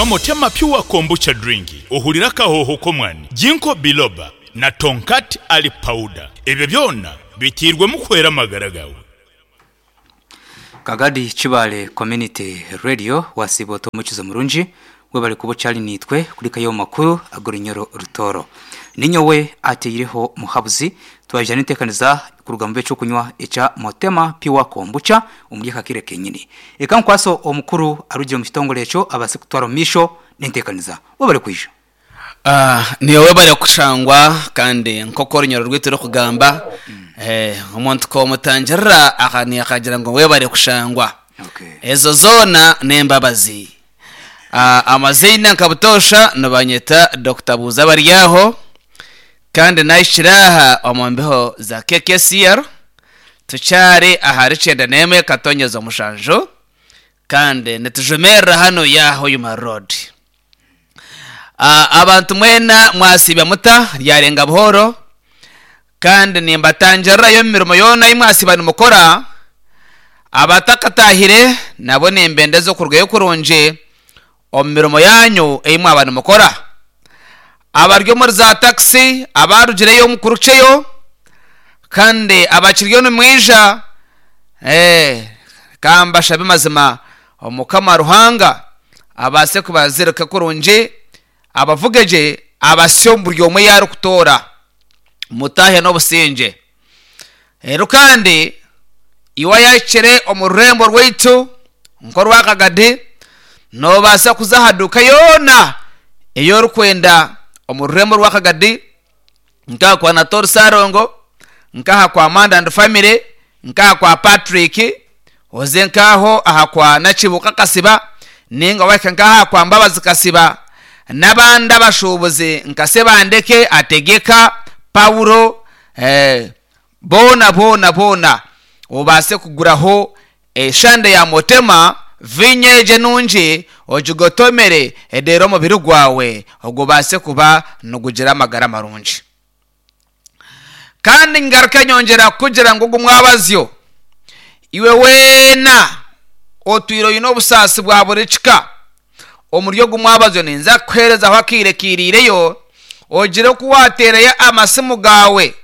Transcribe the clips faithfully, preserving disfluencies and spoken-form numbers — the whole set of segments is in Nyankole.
Nywa Motema Pure Kombucha Drink ohurire akahooho k'omwani, Ginkgo Biloba na Tongkat Ali Powder. Ebyo byona biteirwemu kuhwera amagara gaawe. Kagadi Kibaale Community Radio wasiiba ota omukizo murungi webare kuba okyari naitwe kurikayo omu makuru ag'orunyoro Rutooro. Ninyowe ateireho Muhabuzi twaija n'enteekaniza kuruga mu b'ekyokunywa ekya Motema Pure Kombucha omuri aka kaire kenyini. Reka nkwase omukuru arugire omu kitongore ekyo abaase kutwara omu maisho n'enteekaniza. Webare kwija. Ah, niiwe webare kushangwa kandi nk'oku orunyoro rwaitu rurikugamba eh, omuntu k'omutangirira aha akagira ngu webare kushangwa. Okay. Ezo zoona n'embabazi. Ah, amaziina nka butoosha nibanyeta Dokita Buuza Baryaho kandi nahikire aha omu mbeho za K K C R, tukyari ahari kyenda n'emwe katonyeza omushanju kandi nitujumirira hano ya Hoima Road. Ah, abantu mwena mwasiibya muta? Ryarenga buhoro kandi nimbatangirirayo omu mirimo yoona ei mwasiiba nimukora. Abatakatahire nabo nimbendeza okurugayo kurungi omu mirimo yanyu ei mwaba nimukora. Abari omuri za takisi, abarugireyo mukurukyeyo, kandi abakiriyo nimwija, eh, kambashabe mazima Omukama Ruhanga abaase kubazirika kurungi, abavuge gye, abasye omu buri omwe yaarikutoora, mutahe n'obusingye. Reero kandi iwe ayahikire omu rurembo rwaitu nk'orwakagadi, noobaasa kuza aha duuka yoona ei orikwenda omu rurembo rwakagadi, nk'aha kwa Nator Sarongo, nk'aha kwa Manda and Family, nk'aha kwa Patrick, oze nk'aho aha kwa Nakibuuka Kasiba, ninga wahika nk'aha kwa Mbabazi Kasiba n'abandi abashuubuzi nka Sebandeke, Ategeka, Paulo, eh, boona boona boona obaase kuguraho eshande ya Motema vinyo egyo enungi, ogigotomere edeere omubiri gwawe ogubaase kuba nigugira amagara marungi. Kandi ngaruke nyongyera kukugira ngu ogu mwabazyo, iwe weena otwire oine obusaasi bwa buri kika, omuri ogu mwabazyo ninza kukuheerezaho akaire kairiireyo ogire oku waateerayo amasimu gaawe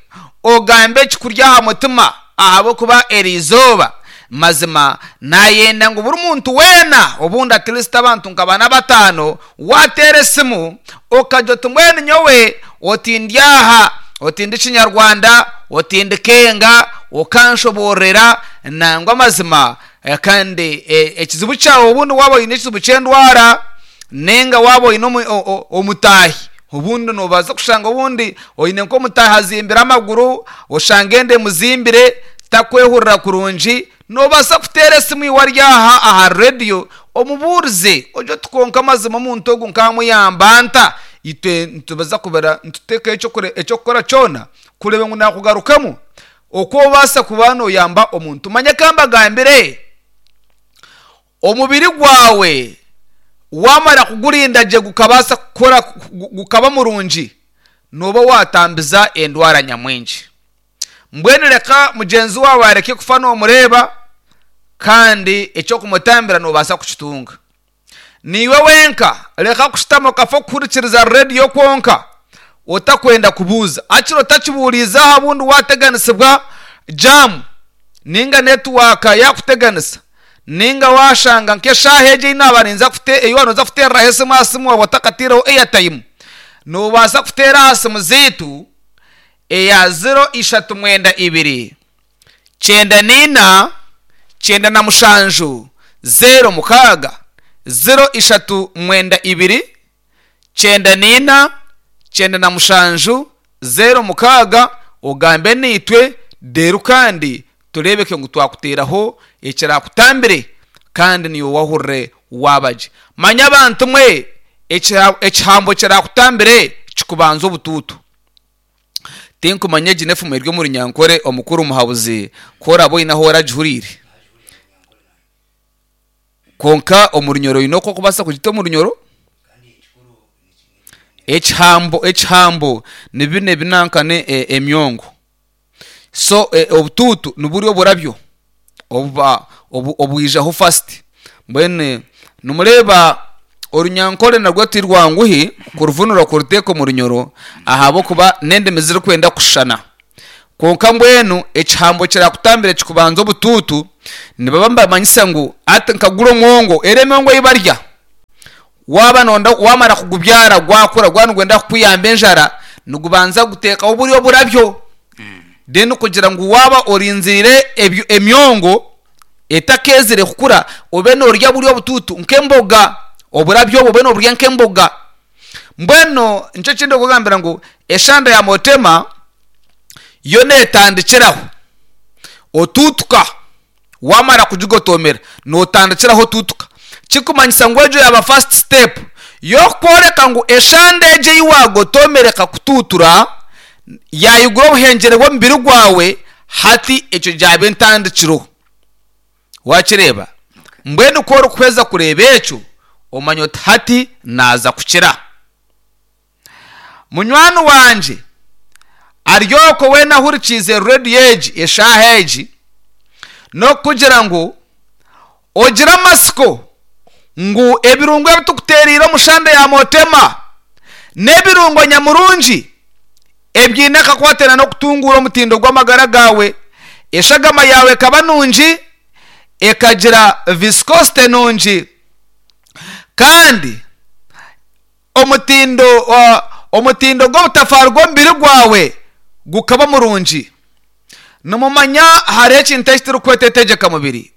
ogambe ekikuri aha mutima, ahabw'okuba eri izooba mazima naayenda ngu buri muntu weena, obundi at least abantu nka bana bataano, waateera esimu okagira oti mbwenu nyowe oti ndi aha, oti ndi Kinyarwanda, oti ndi Kenga, okanshoboororera nangwa amazima. eh, kandi eh, ekizibu kyawe, obundi waaba oine ekizibu ky'endwara, ninga waaba oine omu- o- o- omutaahi, obundi noobaasa kushanga obundi oine nk'omutaahi azimbire amaguru, oshanga enda emuzimbire takwehurira kurungi, noobaasa kuteera esimu iwe ari aha aha rediyo omubuurize ogye oti kwonka amazima omuntu ogu nkamuyamba nta? Itwe nitubaza kubara nituteekaho ekyokure- ekyokukora kyona kureeba ngu nakugarukamu oku obaasa kuba nooyamba omuntu. Manya kambagambire, omubiri gwawe wamara kugurinda gye gukabaasa kukora gu- gukaba murungi, nooba watambiza endwara nyamwingi. Mbwenu reka mugyenzi wawe areke kufa noomureeba, kandi ekyokumutambira noobaasa kukitunga niiwe wenka. Reka kushutama okafa kuhurikiriza rediyo kwonka otakwenda kubuuza, akiri otakibuuriize aha. Bundi wateganisibwa jam, ninga network yakuteganisa, ninga washanga nk'eshaaha egi ei naaba ninza kute ei wanoza kuteereraho esimu aha simu waaba otakatiireho airtime, noobaasa kuteera aha simu zaitu eya zero ishatu mwenda ibiri kyenda nina kyenda na mushanju zero mukaaga, zero ishatu mwenda ibiri kyenda nina kyenda na mushanju zero mukaaga, ogambe niitwe deeru kandi tureebeke ngu twakuteeraho ekirakutambire kandi niiwe wahurire waaba gye. Manya abantu mwe, ekira- ekihambo kirakutambire kikubanza obutuutu. Tinkumanya egi n'efumu eri omu Runyankore, omukuru Muhabuzi, ku oraba oine ahu oragihuriire, kwonka omu Runyoro oine oku okubaasa kugita omu Runyoro. Ekihambo, ekihambo ni bino ebinankane e- emyongo so e, obutuutu niburi oburabyo obuba obu- obwijaho first. Mbwenu nimureeba. Orunyankore narwo ti rwanguhi kuruvunura kuruteeka omu Runyoro, ahabw'okuba n'endimi zirikwenda kushushana. Kwonka mbwenu ekihambo kirakutambira kikubanza obutuutu, nibaba nibamanyisa ngu ati nkagura omwongo, era emyongo ei barya waaba nonda wamara kugubyara gwakura gwaba nigwenda kukuyamba enjara, nigubanza guteekaho buri oburabyo, then kugira ngu waaba orinzire ebyo emyongo etakeezire kukura, obe norya buri obutuutu nk'emboga, oburabyo obwo obe noburya nk'emboga. Mbwenu nikyo ekindi okugambira ngu eshanda ya motema yo neetandikiraho otuutuka, wamara kugigotomera nootandikiraho otuutuka, kikumanyisa ngu egyo yaaba first step y'okworeka ngu eshanda egyo ei waagotomera ekakutuutura yaayigura obuhengyere bw'omubiri gwawe, hati ekyo gyaba entandikiro. Waakireeba? Mbwenu ku orikuhweza kureeba ekyo, omanya oti hati naaza kukira. Munywani wangye ari okwo weena ahurikiize rediyo egi eshaaha egi, n'okukugira ngu ogire amatsiko ngu ebirungo ebi tukuteereire omu shanda ya motema n'ebirungo nyamurungi ebiine akakwatana n'okutunguura omutindo gw'amagara gaawe, eshagama yaawe ekaba nungi, ekagira viscosity nungi, kandi omutindo uh, omutindo gw'obutafaari gw'omubiri gwawe gukaba murungi. Nimumanya hariho ekintu eki turikweta entegyeka mubiri.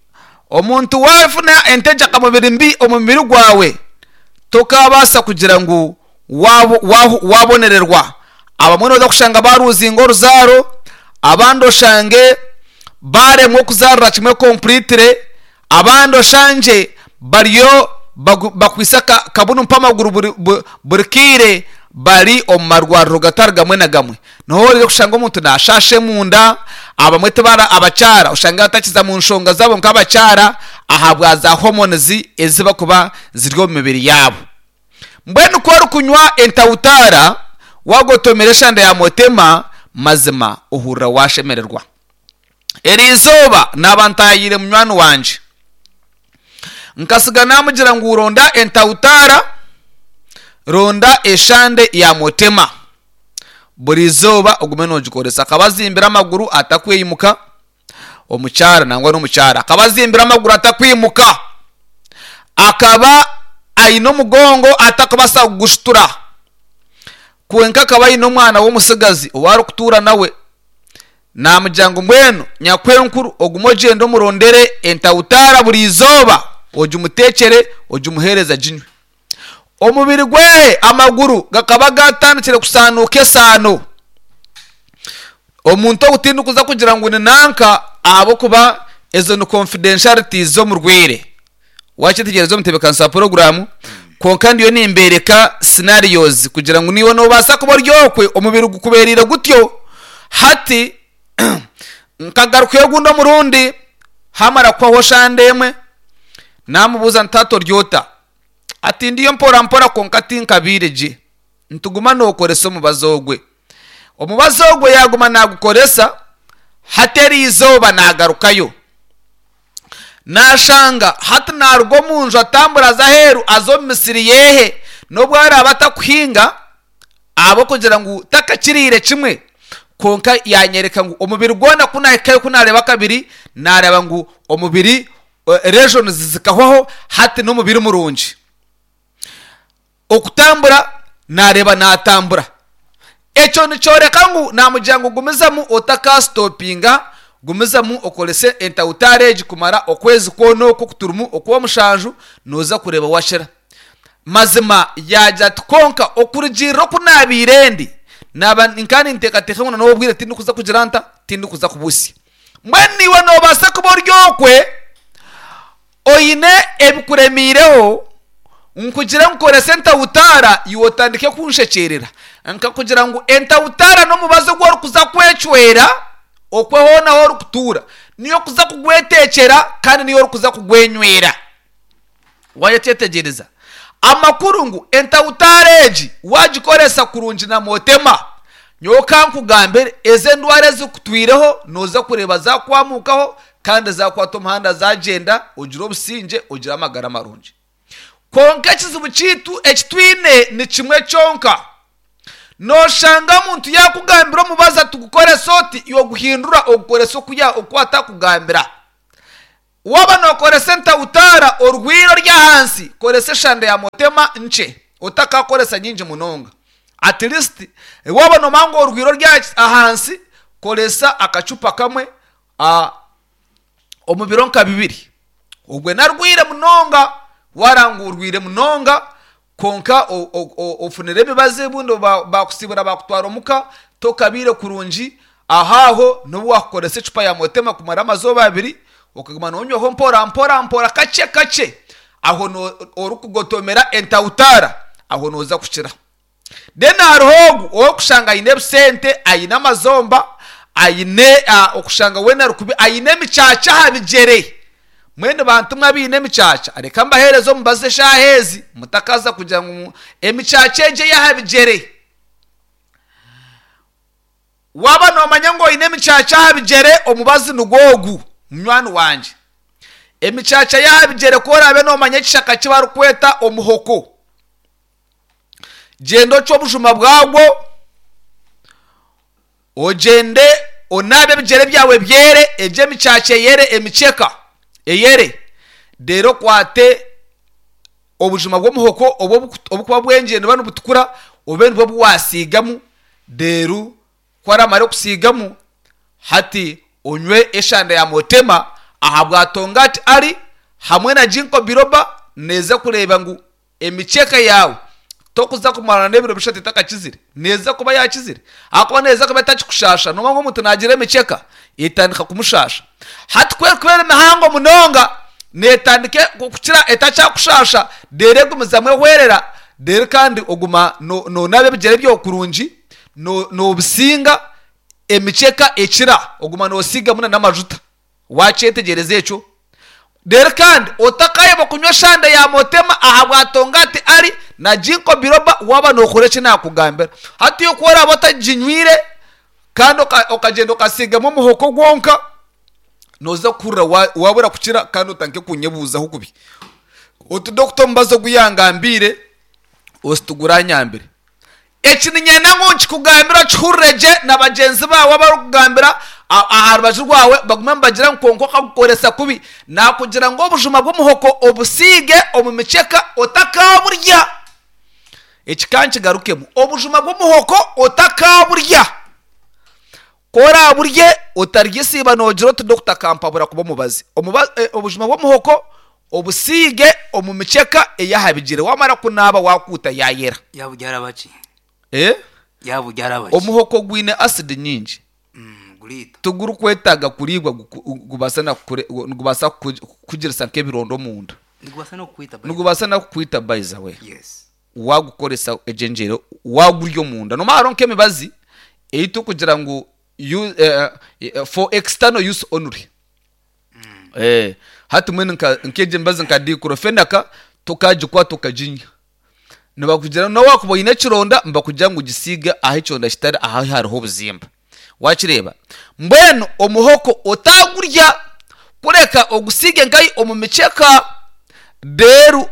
Omuntu waafuna entegyeka mubiri mbi omu mubiri gwawe, tokabaasa kugira ngu wabonererwa. Abamwe nooza kushanga baruzinga oruzaaro, abandi oshange baremwa okuzaarira kimwe completely, abandi oshangye bariyo bakwitse kabunu mpamaguru buri, buri kaire bari omu marwariro gatari gamwe na gamwe. Niho orikushanga kushanga omuntu naashasha emunda, abamwe tibara abakyara oshange batakiza mu nshonga zaabo nk'abakyara ahabwa za hormones ezibakuba ziri omu mibiri yaabo. Mbwenu ku orikunywa entawutaara wagotomera eshanda ya motema, mazima ohurira washemererwa. Eri izooba naaba ntaahiire munywani wangye, nkasiga naamugira ngu ronda entawutaara, ronda eshande ya motema, buri izooba ogume noogikoresa. Akaba azimbire amaguru atakwimuka, omukyara nangwa n'omukyara akaba azimbire amaguru atakwimuka, akaba aine omugongo atakubaasa kugushutura, kwonka akaba aine omwana w'omutsigazi ou arikutuura nawe. Naamugira ngu mbwenu nyakwenkuru ogume ogyende omurondere entawutaara buri izooba, ogimuteekyere ogimuheereze aginywe. Omubiri gwe amaguru gakaba gatandikire kusaanuuka esaano. Omuntu ogu tindikuza kugira ngu ni nanka, ahabw'okuba ezo ni confidentialities z'omurwaire. Waakyetegereza omu ntebeekanisa ya poroguramu, kwonka ndiyo nimbeereka scenarios kugira ngu naiwe noobaasa kuba ori okwe omubiri gukubeereire gutyo. Hati nkagarukayo ogundi omurundi, haamara kuhwaho shande emwe, naamubuuza nti hati ori ota? Ati ndiyo mpora mpora kwonka tinkabaire gye. Nituguma nookoresa omubazi ogwe. Omubazi ogwe yaaguma naagukoresa, hati eri izooba naagarukayo. Naashanga hati naaruga omu nju atambura aza aheeru aza omu misiri yehe, n'obu araabe atakuhinga ahabw'okugira ngu takakiriire kimwe, kwonka yanyereka ngu omubiri gwona ku naahikayo ku naareeba kabiri, naareeba ngu omubiri lesions zikahwaho, hati n'omubiri murungi. Okutambura naareeba naatambura. Ekyo nikyoreka ngu naamugira ngu gumizamu otakasitopinga, gumizamu okorese entawutaara egi kumara okwezi kwona oku okuturimu okw'omushanju, nooza kureeba wakira. Mazima yaagira ati kwonka okurugiirira oku naabaire ndi, naaba nkaba ninteekateeka ngu n'obu obwire tindikuza kugira nta, tindikuza kubuhitsya. Mbwenu naiwe noobaasa kuba ori okwe oine ebikuremiireho, nkugire ngu koresa entawutaara iwe otandike kunshekyerera. Nkakugira ngu entawutaara n'omubazi ogu orikuza kwecwera okwe hoona ahu orikutuura. Niyo orikuza kugweteekyera kandi niyo orikuza kugwenywera. Waayetegyereza? Amakuru ngu entawutaara egi waagikoresa kurungi na motema, nyowe ka nkugambire ezi endwara ezikutwireho nooza kureeba zaakwamukaho kandi zaakwata omuhanda zaagyenda, ogire obusingye, ogire amagara marungi. Konka ekizibu kiitu ekitwine ni kimwe kyonka. Noshanga omuntu yakugambira omubazi atugukoresa oti, yoguhindura ogukoresa okuya oku atakugambira. Waba nokoresa entautara orwiro ry'ahansi, koresa eshanda ya motema nche, otakakoresa nyingi munonga. At least waba nomanya ngu orwiro rya ahansi, koresa akacupa kamwe a, omu biro nka bibiri. Ogwe narwire munonga, warangurwire munonga, konka ofunire ebibazo ebundi bakusibura bakutwara omuka, tokabire kurungi, ahaho nobu wakukoresa ecupa ya motema kumara amazooba abiri, okaguma nonywaho mpora mpora mpora kache kache, aho orikugotomera entautara, aho noza kukira. Then hariho ogu owokushanga aine ebisente, aine amazomba, aine okushanga wena rukubi, aine emicaca aha bigyere. Mwene bantu mwe abaine emicaca, reka mbaheereze omubazi eshaaha ezi, mutakaza kugira ngu emicaca egyo ey'aha bigyere. Waba nomanya ngu oine emicaca aha bigyere, omubazi nigwo ogu, munywani wangye. Emicaca y'aha bigyere ku oraabe nomanya ekishaka ki barikweta omuhoko, gyenda ocwe obujuma bwagwo, ogyende onaabe ebigyere byawe byere, egyo emicaca eyere, emikyeka eyere, reero okwate obujuma bw'omuhoko obwo obukuba bwengye nibuba nibutukura, obe nibwo obu wasiigamu, reero ku oramara okusiigamu, hati onywe eshanda ya motema ahabwa tongati ari hamwe na ginkgo biloba, neeza kureeba ngu emikyeka yaawe tokuza kumarana n'ebiro bishatu etakakizire, neeza kuba yakizire, ahakuba neeza kuba etakikushasha. Nomanya ngu omuntu naagira emikyeka etandika kumushasha. Hati ku erikuba eri mihango munonga, netandika kukira etakyakushasha, reero egumizamu ehwerera, reero kandi oguma nonaaba ebigyere byawe kurungi, nobisinga, emikyeka ekira, oguma nosiigamu n'amajuta. Wakyetegyereza ekyo? Reero kandi otakayeba kunywa eshanda ya motema ahabwa tongati ari na ginkgo biloba waba nokora eki nakugambira. Hati ku oraabe otaginywire kandi okagyenda okasiigamu omuhoko gwonka, noza kuhurira wabura kukira kandi otandike kunyebuuzaho kubi. Oti dokita omubazi ogu yangambiire ositugure anyambire. Eki niinyenda ngu nkikugambire okihurire gye na bagyenzi baawe abarikugambira aha rubaju rwawe bagume nibagira ngu kwonka okagukoresa kubi. Nakugira ngu obujuma bw'omuhoko obusiige omu mikyeka otakaburya. Eki ka nkigarukemu, obujuma bw'omuhoko otakaburya. Ku oraburye otaryesiiba noogira oti dokita akampabura kuba omubazi. Obujuma bw'omuhoko obusiige omu mikyeka ey'aha bigyere, wamara kunaaba wakuuta yayera. Yaburyaraba ki? Eh? Yaburyaraba ki? Omuhoko gwine acid nyingi. Mm, guriita. Tigurikwetaaga kuriibwa gubaasa na nigubaasa kukugirisa nk'ebironda omunda. Nigubaasa n'okukwita by the Nigubaasa n'okukwita by the way. Yes. Wagukoresa egyo engyero, wagurya omunda. Nomanya hariho nk'emibazi ei turikugira ngu for external use only. Eh, hati mbwenu nk'egyo emibazi nka diclofenac tokagikwata okaginywa. Nibakugira nobu wakuba oine ekironda, nibakugira ngu gisiige ahu ekironda kitari ahu hariho obuzimba. Wakireeba? Mbwenu omuhoko otagurya, kureka ogusiige nkahi omu mikyeka, reero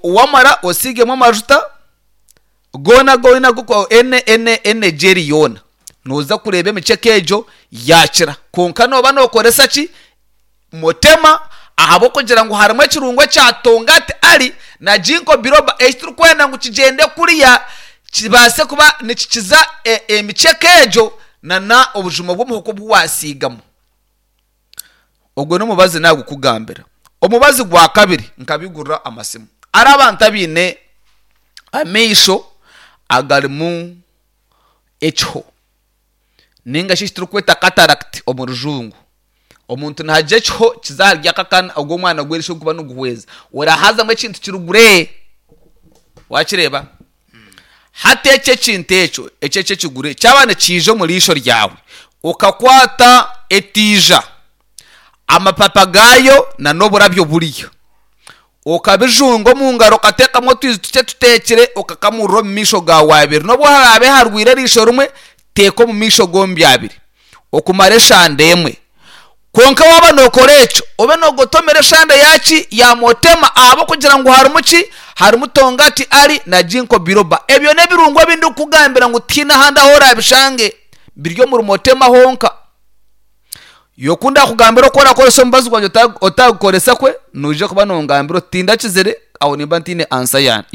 wamara osiigemu amajuta goona agu oine agu ene ene ene jeri yoona. Nooza kureeba emikyeka egyo yaakira. Kwonka nooba nookoresa ki? Motema, ahabw'okugira ngu harimu ekirungo ekya tongati ari na ginkgo biloba eki turikwenda ngu kigyende kuriya kibaase kuba nikikiza emikyeka egyo na obujuma bw'omuhoko obu wasiigamu. Ogwo n'omubazi nagukugambira. Omubazi gwa kabiri nkabigurira amasimu. Hariho abantu abaine amaisho agarimu ekiho ninga shi eki turikweta cataract omu rujungu. Omuntu naagira ekiho kiza ahari aka akaana ogu omwana gw'eriisho gurikuba niguhweza, orahazamu ekintu kirugure. Wakireeba? Hati ekyo ekintu ekyo ekyo eky'ekigure kyaba nikiija omu riisho ryawe, okakwata etiija, amapapa gaayo n'oburabyo buriya, okabijunga omu ngaro okateekamu otwizi tukye tuteekire, okakamurira omu maisho gaawe abiri. Nobu haraabe harwire eriisho rimwe, teeka omu maisho gombi abiri okumara eshanda emwe. Kwonka waaba nookora ekyo, obe noogotomera eshande yaaki ya motema ahabw'okugira ngu harimu ki? Harimu tongati ali na ginkgo biloba. Ebyo n'ebirungo ebi ndikukugambira ngu tihaine ahandi ahu oraabishange, biri omuri motema honka. Iwe ku ndaakugambira oku oraakoresa omubazi gwangye otagukoresa kwe, noija kuba nongambira oti tindakizire, aho nimba ntaine ansa yangye.